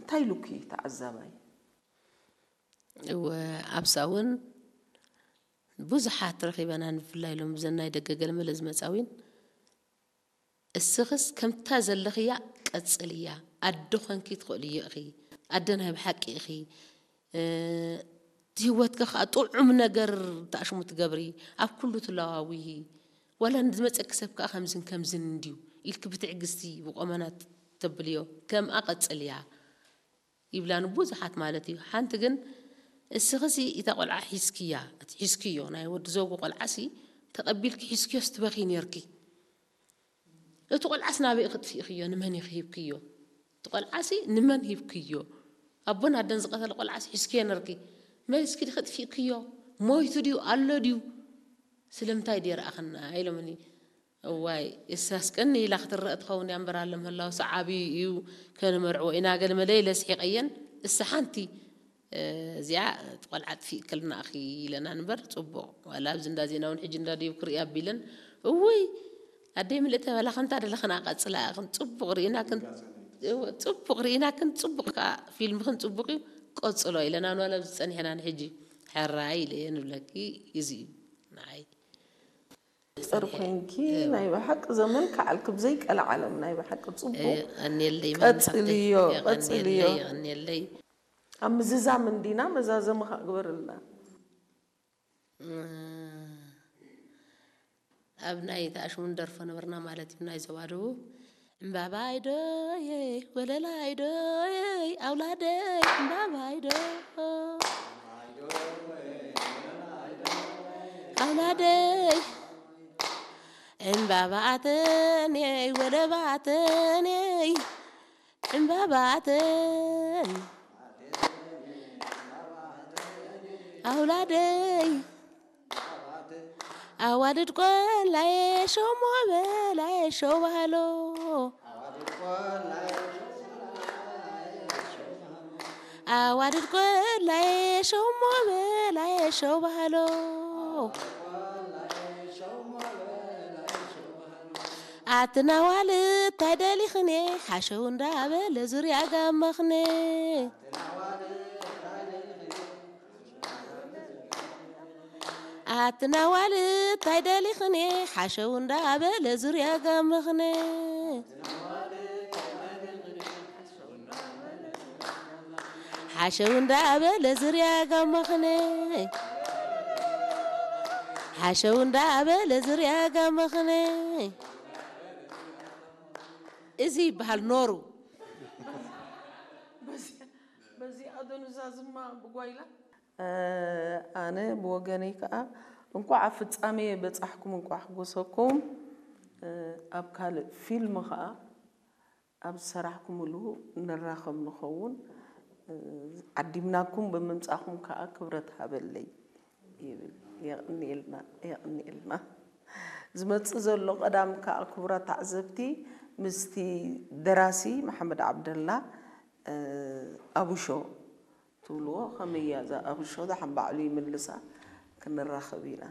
እንታይ ኢሉኪ ተዓዛባይ? እወ ኣብሳ እውን ብዙሓት ረኺበና ንፍላይ ሎም ብዘናይ ደገ ገለመለ ዝመፃዊን እስኽስ ከምታ ዘለኽያ ቀጽልያ ኣደ ኾንኪ ትኽእልዮ ኢኺ ኣደ ናይ ብሓቂ ኢኺ እቲ ህይወትኪ ከዓ ጥዑም ነገር ተኣሽሙ ትገብሪ ኣብ ኩሉ ትለዋውሂ ዋላ ንዝመፀኪ ሰብ ከዓ ከምዝን ከምዝን እንድዩ ኢልኪ ብትዕግስቲ ብቆመና ተብልዮ ከምኣ ቀጽልያ ይብላኒ ብዙሓት ማለት እዩ። ሓንቲ ግን እስኽሲ እታ ቆልዓ ሒዝክያ እቲ ሒዝክዮ ናይ ወዲ ዘውጉ ቆልዓሲ ተቐቢልኪ ሒዝክዮስ ትበኺ ነርኪ። እቲ ቆልዓስ ናበይ ክጥፊእክዮ ንመን ኢኺ ሂብክዮ? እቲ ቆልዓሲ ንመን ሂብክዮ? ኣቦን ኣደን ዝቐተለ ቆልዓሲ ሒዝክዮ ነርኪ። መሊስኪ ዲኺ ጥፊእክዮ? ሞይቱ ድዩ ኣሎ ድዩ? ስለምንታይ ድየ ረኣኽና ኢሎምኒ። እዋይ እሳስ ቅኒ ኢላ ክትረእ ትኸውን እያ እምበር ኣሎ ምህላው ሰዓቢ እዩ ከነመርዕዎ ኢና ገለ መለ ኢለ ስሒቐየን እሳ ሓንቲ እዚኣ ቆልዓ ጥፊእክልና ኣኺ ኢለና ንበር ፅቡቕ ዋላ ኣብዚ እንዳ ዜና እውን ሕጂ እንዳ ድዩ ክርኢ ኣቢለን እውይ ኣደይ ምልእተ በላ ከምታ ደለኽና ቀፅላ ኢኽን ፅቡቕ ርኢና ክን ፅቡቕ ርኢና ክን ፅቡቕ ከዓ ፊልምኽን ፅቡቕ እዩ ቀፅሎ ኢለና ንዋላ ኣብዚ ፀኒሕና ንሕጂ ሕራይ ኢለ እየ ንብለኪ እዚ እዩ ንዓይ ጥር ኮንኪ ናይ ብሓቂ ዘመን ከዓልኪ ብዘይቀለ ዓለም ናይ ብሓቂ ፅቡቅ ቀንየለይ ቀፅልዮ ቀፅልዮ ቀንየለይ ኣብ ምዝዛም እንዲና መዛዘሚ ከዓ ግበርልና ኣብ ናይ ተኣሽሙን ደርፎ ነበርና ማለት እዩ ናይ ዞባ ደቡብ ዕምባባይ ዶየይ ወለላይ ዶየይ ኣውላደይ ዕምባባይ ዶ ኣውላደይ ዕምባባኣተንየይ ወለባተንየይ ዕምባባተን ኣውላደይ ኣዋልድ ቆላየ ሸሞ በላየ ሸው ባህሎ ኣዋልድ ቆላየ ሸሞ በላየ ሸው ባህሎ ኣትናዋል እንታይ ደሊኽኔ ሓሸው እንዳበለ ዙርያ ጋመኽኔ ኣትናዋል እንታይ ደሊኽኔ ሓሸው እንዳበለ ዙርያ ጋመኽኔ ሓሸው እንዳበለ ዙርያ ጋመኽኔ ሓሸው እንዳበለ ዙርያ ጋመኽኔ እዚ ይበሃል ኖሩ በዚኣ ዶ ንዛዝማ ብጓይላ ኣነ ብወገነይ ከዓ እንኳዕ ኣብ ፍፃሜ በፃሕኩም እንኳዕ ኣሕጎሰኩም ኣብ ካልእ ፊልም ከዓ ኣብ ዝሰራሕኩምሉ ንራኸብ ንኸውን ዓዲምናኩም ብምምፃእኩም ከዓ ክብረት ሃበለይ ይብል የቕንየልና የቕንየልና ዝመፅእ ዘሎ ቀዳም ከዓ ክቡራት ተዓዘብቲ ምስቲ ደራሲ መሓመድ ዓብደላ ኣብሾ ትብልዎ ከመይ እያ እዛ ኣብሾ ዛሓን ባዕሉ ይምልሳ ክንራኸብ ኢና